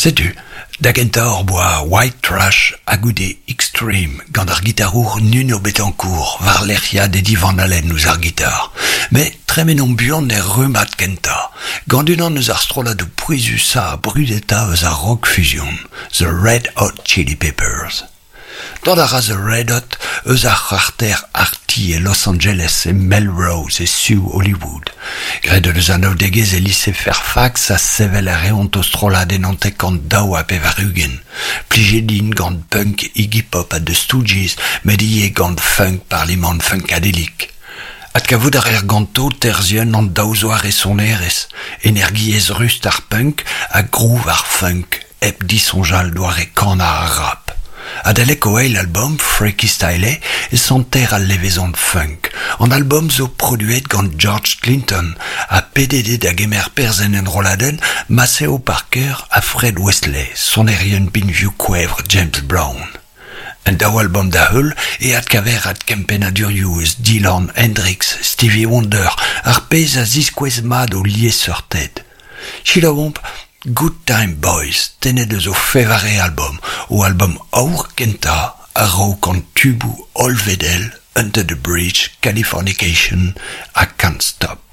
Setu, da gentañ hor boa White Trash ha goude Extreme gant ar gitarour Nuno Betancourt war-lerc'hiad Eddie Van Halen ouzh ar gitar. Met tremenomp buan er rummad kentañ, gant unan eus ar strolladoù pouezusañ ha brudetañ eus ar rock fusion, The Red Hot Chili Peppers. Dont a ra The Red Hot eus ar c'harter Arty e Los Angeles, e Melrose, e su Hollywood. Graet o deus anaoudegezh e lise Fairfax ha sevel a reont o strollad en 92. Plijet int gant punk Iggy Pop ha The Stooges, met ivez gant funk Parliament Funkadelic. Adkavout a reer ganto terzhienn an daou zoare sonerezh, energiezh rust ar punk ha groove ar funk. hep disoñjal doare kanañ ar rap. Adalek o eil albom, Freaky Styley, e santer al levezon funk. An albom zo produet gant George Clinton ha pedet eo da gemer perzh en enrolladenn Maceo Parker ha Fred Wesley, sonerien binvioù kouevr James Brown. En daou albom da-heul e adkaver adkempennadurioù eus Dylan, Hendrix, Stevie Wonder, ar pezh a ziskouez mat o liesseurted. Selaouomp Good Time Boys, tennet eus o fevare albom, o albom aour kentañ a-raok an tuboù hollvedel Under the Bridge, Californication ha Can't Stop.